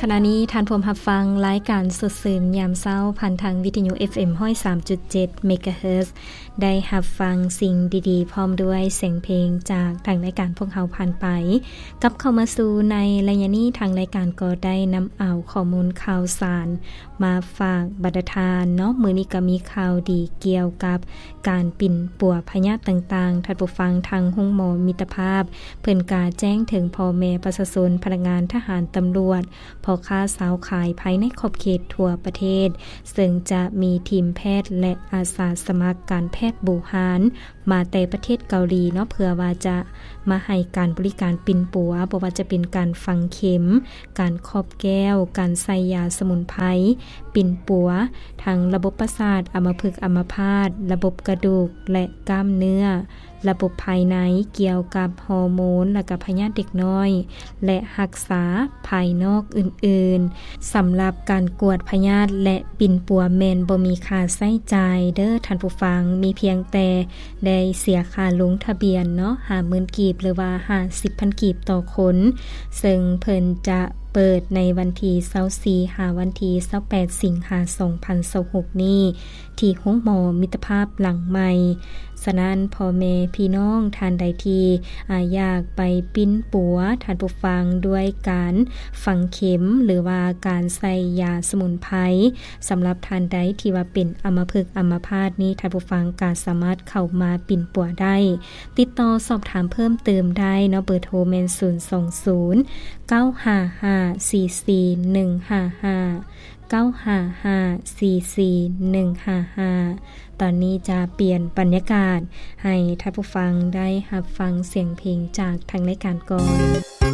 ຂະນະນີ້ທ່ານພວມຮັບຟັງລາຍການສົດຊື່ນຍາມເຊົ້າ ຜ່ານທາງວິທະຍຸ ເອັຟເອັມ ຮ້ອຍສາມຈຸດເຈັດ ເມກາເຮີດ ໄດ້ຮັບຟັງສິ່ງດີໆ ພ້ອມດ້ວຍສຽງເພງຈາກທາງລາຍການພວກເຮົາຜ່ານໄປ. ກັບເຂົ້າມາສູ່ໃນໄລຍະນີ້ ທາງລາຍການກໍໄດ້ນຳເອົາຂໍ້ມູນຂ່າວສານມາຝາກບັນດາທ່ານເນາະ. ມື້ນີ້ກໍມີຂ່າວດີກ່ຽວກັບ ການປິ່ນປົວພະຍາດຕ່າງໆ, ທ່ານຜູ້ຟັງ, ທາງໂຮງໝໍມິດຕະພາບ ເພິ່ນກະແຈ້ງເຖິງພໍ່ແມ່ປະຊາຊົນ, ພະນັກງານ, ທະຫານ, ຕຳຫຼວດ, ພໍ່ຄ້າຊາວຂາຍພາຍໃນຂອບເຂດທົ່ວປະເທດ, ເຊິ່ງຈະມີທີມແພດ ແລະ ອາສາສະໝັກການແພດບູຮານ ມາແຕ່ປະເທດເກົາຫຼີເນາະ, ເພື່ອວ່າຈະມາໃຫ້ການບໍລິການປິ່ນປົວ, ບໍ່ວ່າຈະເປັນການຝັງເຂັມ, ການຄອບແກ້ວ, ການໃສ່ຢາສະໝຸນໄພ, ປິ່ນປົວທັງລະບົບປະສາດ, ອຳມະພຶກອຳມະພາດ, ລະບົບກະດູກ ແລະ ກ້າມເນື້ອ, ລະບົບພາຍໃນ, ກ່ຽວກັບຮໍໂມນ ແລະ ກະພະຍາດເດັກນ້ອຍ ແລະ ຮັກສາພາຍນອກອື່ນໆ. ສຳລັບການກວດພະຍາດ ແລະ ປິ່ນປົວແມ່ນບໍ່ມີຄ່າໃຊ້ຈ່າຍເດີ້ທ່ານຜູ້ຟັງ, ມີພຽງແຕ່ ໄດ້ເສຍຄ່າລົງທະບຽນເນາະ ຫ້າໝື່ນກີບ ຫຼືວ່າ ຫ້າສິບພັນກີບຕໍ່ຄົນ, ເຊິ່ງເພິ່ນຈະເປີດໃນວັນທີຊາວສີ່ ຫາວັນທີຊາວແປດ ສິງຫາ ສອງພັນຊາວຫົກນີ້ ທີ່ໂຮງໝໍມິດຕະພາບຫຼັງໃໝ່. ສະນັ້ນ ພໍ່ແມ່ພີ່ນ້ອງທ່ານໃດທີ່ ອາ ຢາກໄປປິ່ນປົວ ທ່ານຜູ້ຟັງ ດ້ວຍການຝັງເຂັມ ຫຼືວ່າການໃສ່ຢາສະໝຸນໄພ, ສຳລັບທ່ານໃດທີ່ວ່າເປັນອຳມະພຶກອຳມະພາດນີ້ ທ່ານຜູ້ຟັງກໍສາມາດເຂົ້າມາປິ່ນປົວໄດ້. ຕິດຕໍ່ສອບຖາມເພີ່ມເຕີມໄດ້ເນາະ, ເບີໂທແມ່ນ ສູນສອງສູນ ເກົ້າຫ້າຫ້າ ສີ່ສີ່ໜຶ່ງຫ້າຫ້າ ເກົ້າຫ້າຫ້າ ສີ່ສີ່ໜຶ່ງຫ້າຫ້າ. ຕອນນີ້ຈະປ່ຽນບັນຍາກາດໃຫ້ທ່ານຜູ້ຟັງໄດ້ຮັບຟັງສຽງເພງຈາກທາງລາຍການກ່ອນ.